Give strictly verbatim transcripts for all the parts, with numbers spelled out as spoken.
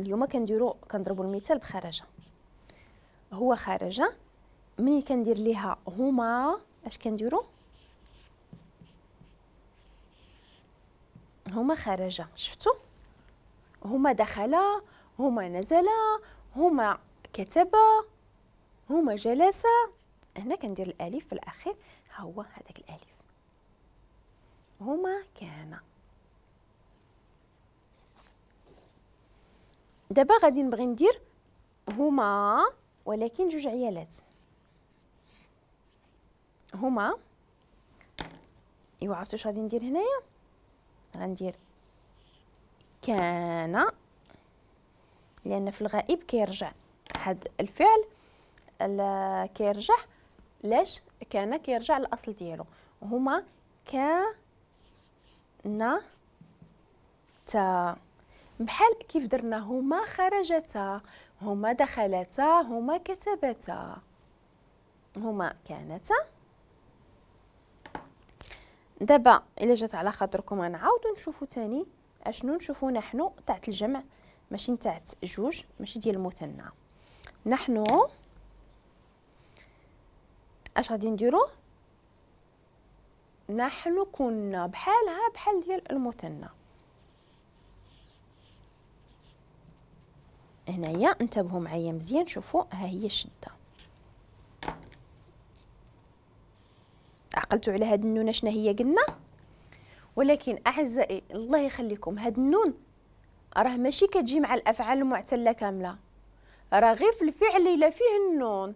اليوم كنديرو كنضربوا المثال بخرج. هو خرج، ملي كندير ليها هما اش كنديرو؟ هما خرج. شفتوا؟ هما دخل، هما نزل، هما كتب، هما جلس. هنا كندير الالف في الاخير، ها هو هذاك الالف. هما كان. دابا غادي نبغي ندير هما ولكن جوج عيالات. هما، ايوا عرفتوا واش غادي ندير هنايا؟ غندير كان، لان في الغائب كيرجع هاد الفعل كيرجع لاش؟ كان كيرجع للاصل ديالو. هما كان تا، بحال كيف درنا هما خرجتا، هما دخلتا، هما كتبتا، هما كانتا. دابا الا جات على خاطركم غنعاودو نشوفو تاني اشنو نشوفو. نحن تاعت الجمع ماشي تاعت جوج، ماشي ديال المثنى. نحن اش غادي نديرو؟ نحن كنا بحالها بحال ديال المثنى. هنايا انتبهوا معايا مزيان، شوفوا ها هي الشدة. عقلتوا على هاد النون شنو هي قلنا؟ ولكن اعزائي الله يخليكم، هاد النون راه ماشي كتجي مع الافعال المعتله كاملة، راه غير في الفعل الا فيه النون.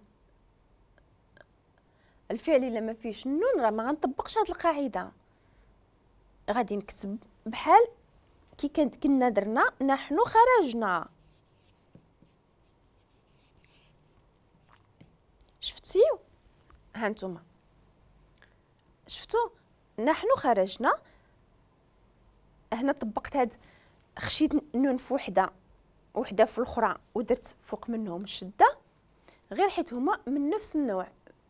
الفعل الا ما فيهش النون راه ما غنطبقش هاد القاعدة. غادي نكتب بحال كي كنا درنا نحن خرجنا. شفتيو؟ ها نتوما شفتو نحن خرجنا. هنا طبقت هاد، خشيت نون في وحده وحده في الاخرى ودرت فوق منهم الشدة، غير حيت هما من نفس النوع،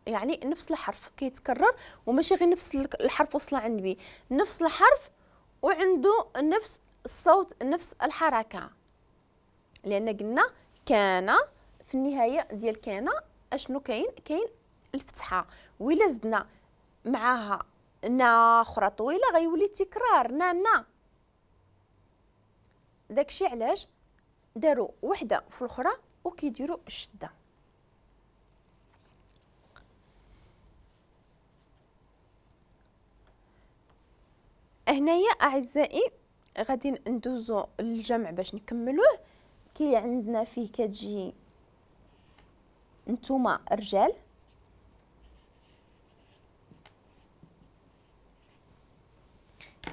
يعني نفس الحرف كيتكرر، وماشي غير نفس الحرف وصل عند بي، نفس الحرف وعنده نفس الصوت نفس الحركة. لان قلنا كان في النهاية ديال كان اشنو كاين؟ كاين الفتحة، وإلا زدنا معاها نا اخرى طويلة غيولي تكرار نا نا. داكشي علاش داروا وحده في الاخرى وكيديروا الشدة. هنايا اعزائي غادي ندوزو للجمع باش نكملوه. كي عندنا فيه كتجي نتوما رجال،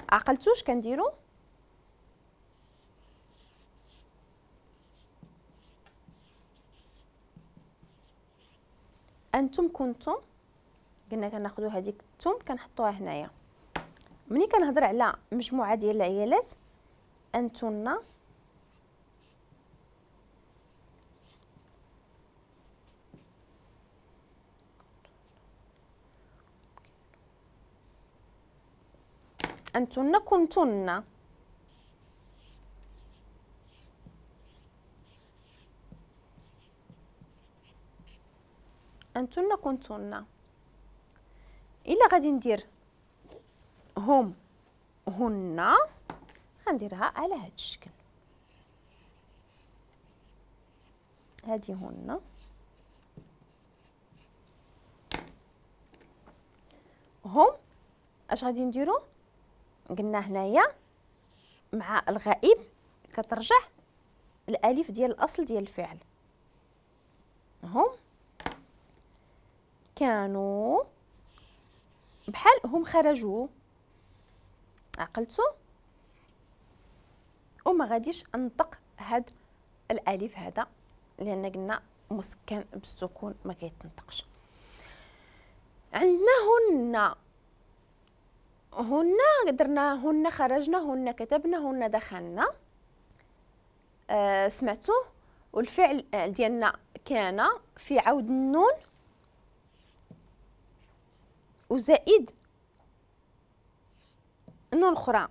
عقلتوش كنديرو؟ انتم كنتم، قلنا كناخذوا هذيك التوم كنحطوها هنايا. ملي كنهضر على مجموعة ديال العيالات، انتن انتن كنتن. انتن كنتن. الا غادي ندير هم هن غنديرها على هذا الشكل، هذه هن. هم اش غادي نديرو؟ قلنا هنايا مع الغائب كترجع الالف ديال الاصل ديال الفعل. هم كانوا بحال هم خرجوا، عقلتوا؟ وما غاديش انطق هاد الالف هذا لان قلنا مسكن بالسكون ما كيتنطقش. عندنا هن، هن درنا هن خرجنا، هن كتبنا، هن دخلنا. آه سمعتوا؟ والفعل ديالنا كان في عود النون وزائد نون اخرى.